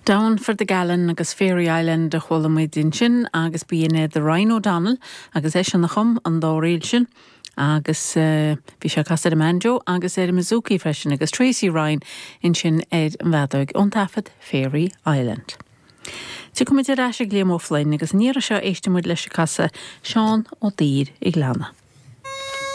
Down for the Gallon agus Fairy Island a chuala muid ansin agus b'in iad Ryan O'Donnell agus eisean a chum an dá ríl sin agus bhí sé ag casadh ar an mbanjo agus ar an mbouzouki freisin agus Tracy Ryan ansin ar an bhfeadóig ón taifead Fairy Island. Tiocfaidh muid ar ais ag Liam Ó Floinn agus an iarraidh seo éistfidh muid leis ag casadh Seán Ó Duibhir an Ghleanna.